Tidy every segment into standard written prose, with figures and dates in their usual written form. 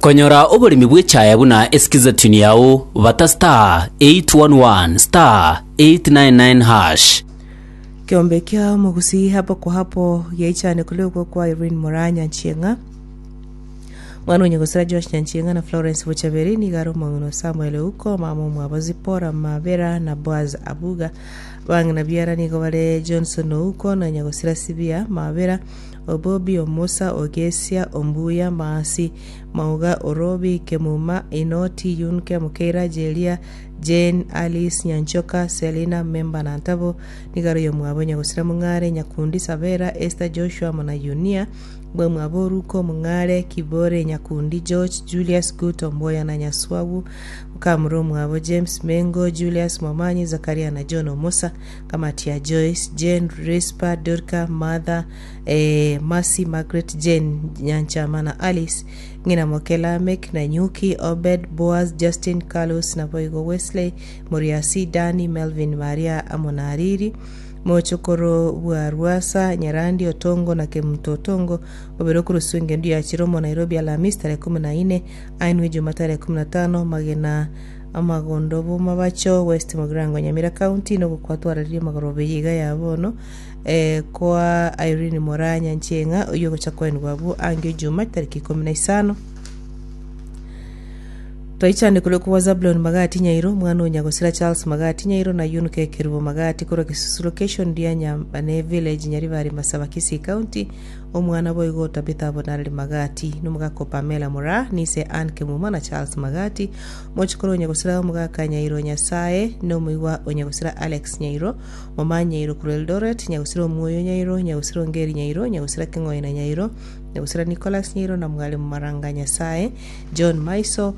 Konyora oboremi bw'echaya buna esikiza tune yao bata *811*899#. Kiombe kia omogusii hapo kwa hapo giaichane koria okwo kwa Irene Moraa Nyanchieng'a. Mwana onye gosira Josh Nyanchieng'a na Florence Bochaberi nigo are omong'ina o Samuel Ouko, mama omwabo Zipporah Mabera na Boaz Abuga. Abang'ina biara nigo bare Johnson Ouko na Nyagosira Sibia Mabera, Obobi Omusa, Ogesia, Ombuya, Maasi, Mauga, Orobi, Kemuma, Inoti, Yunke, Mokeira, Jeria, Jane, Alice, Nyanchoka, Selina, Memba na Ntabo. Nigo are oyomwabo Nyagosira Mong'are, Nyakundi, Sabera, Esther, Joshua amo na Yunia. Bwamwabo Oruko, Omong'are, Kibore, Nyakundi, George, Julius, Guto, Omboya na Nyaswabu. Mokamura omwabo James, Mengo, Julius, Momanyi, Zakaria na John Omosa. Kamati ya Joyce, Jane, Rispa, Dorka, Martha, eh, Mercy, Margaret, Jane, Nyanchama na Alice. Ng'ina moke Lamek, Nanyuki, Obed, Boaz, Justin, Carlos, naboigo Wesley, Moriasi, Dani, Melvin, Maria amo na Ariri. Mochokoro bwa Rwasa, Nyarandi, Otongo na Kemunto Otongo, obere okoroswa engendu ya Chiromo, Nairobi, Alhamisi tarehe kumi na ine, ainwe Ijumaa tarehe kumi na tano, Magena, Amagondo Bomabacho, West Mugirango, Nyamira County, nogokwa twararirie magoroba eye iga ya bono eh, kwa Irene Moraa Nyancheng'a oyio ogocha koenigwa abwo ange Ijumaa tariki ikomi na isano. Twaichane korwa kwa Zabulon Magati Nyairo, omwana o Nyagosira Charles Magati Nyairo na Yunke Kerubo Magati korwa Gesusu Location ria Nyambane Village Nyaribari Masaba Kisii County, omwana boigo o Tabitha Bonareri Magati, nomogaka o Pamela Moraa, nise Ann Kemuma na Charles Magati, mochokoro o Nyagosira omogaka Nyairo Nyasae, nomoigwa o Nyagosira Alex Nyairo, Momanyi Nyairo korwa Eldoret, Nyagosira Omwoyo Nyairo, Nyagosira Ongeri Nyairo, Nyagosira Keng'oina Nyairo, Nyagosira Nicholas Nyairo na Mwalimu Maranga Nyasae, John Maiso,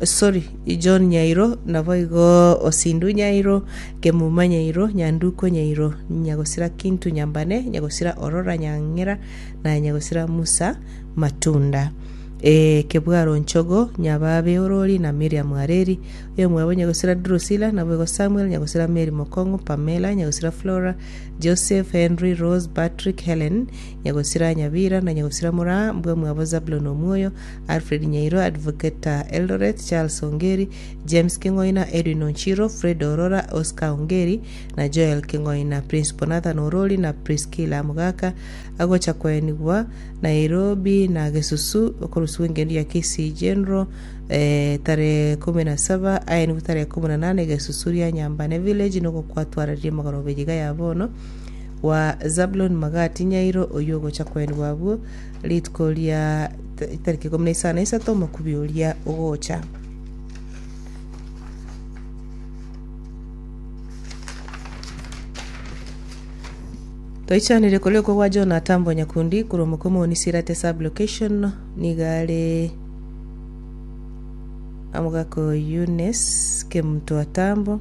sorry, John Nyairo, naboigo Osindu Nyairo, Kemuma Nyairo, Nyanduko Nyairo, Nyagosira Kintu Nyambane, Nyagosira Orora Nyang'era, na Nyagosira Musa Matunda. Eh, Kebwaro Nchogo, Nyababe Orori na Miriam Areri, oyomwabo Nyagosira Drusilla, naboigo Samuel, Nyagosira Mary Mokong'u, Pamela, Nyagosira Flora, Joseph, Henry, Rose, Patrick, Helen, Nyagosira Nyabira, na Nyagosira Moraa, mbwamwabo Zabulon Omwoyo, Alfred Nyairo, Advocate Eldoret, Charles Ongeri, James King'oina, Edwin Onchiro, Fred Orora, Oscar Ongeri, na Joel King'oina, Principal Nathan Orori na Priscilla Mogaka, agocha koenigwa Nairobi na Gesusu okorusigwa engendu ya Kisii General eh, tarehe kumi na saba aenigwe tarehe kumi na nane Gesusu ria Nyambane Village nogokwatwararia magoroba eyiga ya bono wa Zabulon Magati Nyairo oyio ogocha koenigwa abwo Rituko ria chitariki ikomi na isano na isato omokubi oria ogocha. Toichanire koria okwo gwa John Atambo Nyakundi korwa Mokomoni Sirate Sub-location nigo are omogaka o Eunice Kemunto Atambo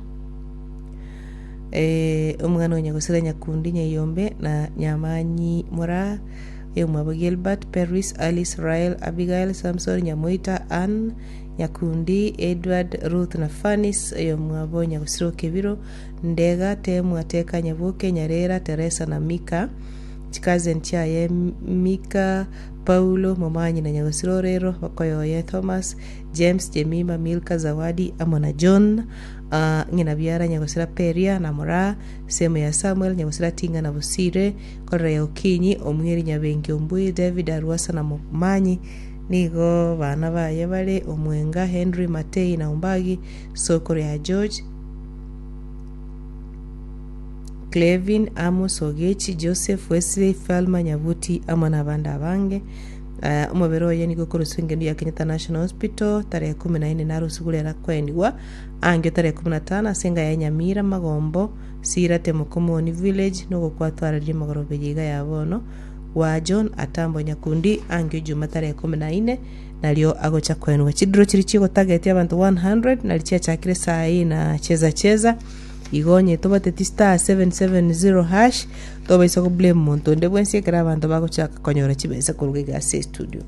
eh, omwana o Nyagosira Nyakundi Nyaiyombe na Nyamanyi Moraa Oyomwabo Gilbert, Peris, Alice, Rael, Abigail, Samson, Nyamoita, Ann, Nyakundi, Edward, Ruth na Fanis. Oyomwabo Nyagusiro Kebiro, Ndega, Temwa, Teka, Nyaboke, Nyarera, Teresa na Mika. Chikazen chiaye Mika, Paulo, Momanyi na Nyagusiro Orero, bakoyoye Thomas, James, Jemima, Milka, Zawadi amo na John. Ah, ng'ina biara Nyagusira Peria na Moraa, Semu ya Samuel, Nyagusira Tinga na Bosire, Korera ya Okinyi, Omweri Nyabengi Ombui, David Arwasa na Momanyi, nigo bana baye bare Omwenga, Henry, Matei na Ombagi, Sokoro ya George, Clevin, Amos, Ogechi, Joseph, Wesley, Thelma, Nyabuti amo nabande abange. Eh, omobere oye nigo okoroswa engendu ya Kenyatta National Hospital tarehe kumi na ine narusigwe rero akoenigwa angio tarehe kumi na tano ase enga ya Nyamira Magombo Sirate Mokomoni Village nogokwatwararia magoroba eye iga ya bono gwa John Atambo Nyakundi angio Juma tarehe ikomi na ine nario agocha koenwa. Chidiro chiria chigotagetia abanto 100 nari chiachakire saa hii na cheza cheza igo onye tobateti star 770 hash tobaisa go blame monto onde bwensi ekero abanto bagochaka konyora chibesa koruga iga ase estudio.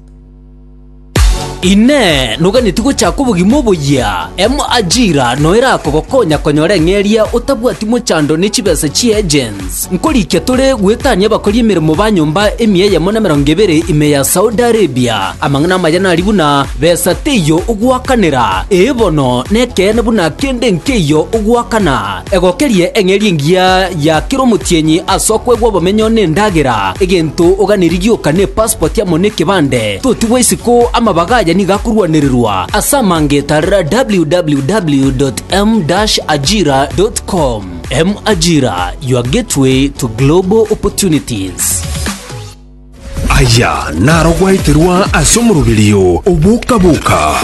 Inee! Noganeti gochaka obogima oboyia? M-Ajira no erakogokonya konyora eng'eria otabwati mochando ne chibesa chi'agents. Nkorikia tore goetania abakori emeremo ba nyomba emia eyemo na emerongo ebere ime ya Saudi Arabia. Amang'ana amaya nari buna, besa teiyo ogoakanera, ee bono nekeene buna kende nkeiyo ogoakana. Egokerie eng'eria engiya ya kera omotienyi ase okoegwa obomenyo na endagera, egento oganerie gioka ne passport amo nekebande. Totigwa isiko amabaga aya nigo akorwanererwa ase amange tarera www.m-ajira.com. M-Ajira, your gateway to global opportunities. Aya naro gwaeterwa ase omoroberio oboka-boka.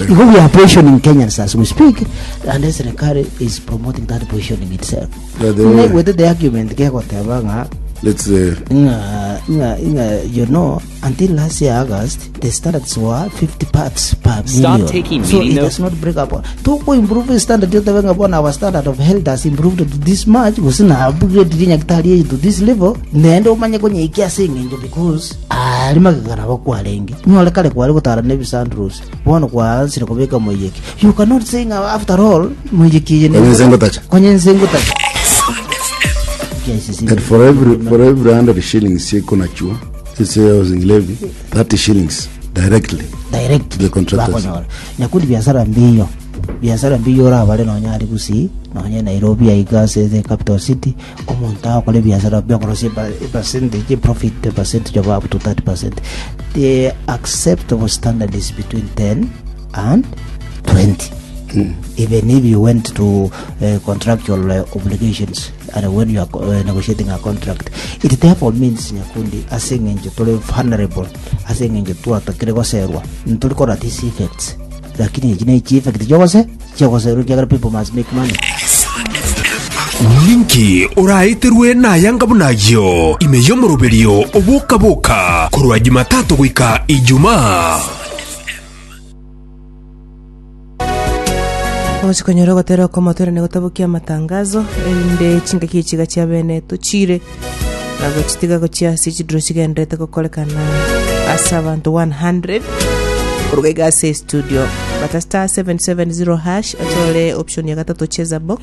Igo we are poisoning Kenyans as we speak, and the serikali is promoting that poisoning itself. By the way- With the argument gegoteba ng'a Let's uh, ng'a ng'a ng'a you know until last year August the standards were 50 parts per Stop million. taking so meeting it notes. does not break up. Tuko improve standard yotebe ng'a bona our standard of health has improved to this much gose na upgrade rinyagitari to this level nende omanye konyeikia ase eng'encho because ari magega nabo kwarenge nyore kare kware gotara na ebisandros bono kwaansire kobeka moiyeki you cannot say ng'a after all moiyeki eye Konye ense ngotacha. konye ense ngotacha And for every 100 shillings yekonachua ase housing levy 30 shillings directly direct to the contractors. bakonyora nyakundi biasara mbiyo biasara mbiyo orabare nonya ari gusii nonya nairobi aiga ase the capital city omonto agokora ebiasara biokorosia epercentage profit percentage of up to 30%. The acceptable standard is between 10 and 20. Even if you went to contractual obligations and when you are negotiating a contract, it therefore means nyakundi ase eng'encho tore vulnerable ase eng'encho twatakire goserwa nturi kora these effects lakini echi ne chi effect chiogose chiogoserwa ekiagera people must make money. Ninki oraeterwe nayanga buna ayio ime y'omoroberio oboka-boka korwa Jumatatu goika Ijumaa? Ogochi konyora ogotera okomotorane gotabokia amatangazo erinde chingaki echiga chia bene tochire na gochitiga gochia ase chiduro chigenderete gokorekana ase abanto 100 koruga iga ase studio bata star 770 hash achore option ya gatato cheza box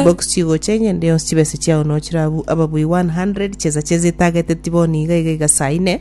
box chigocha enye ende yonsi chibesa chiao no chirabu ababui 100 cheza cheza etagete tiboni iga iga iga saa ine.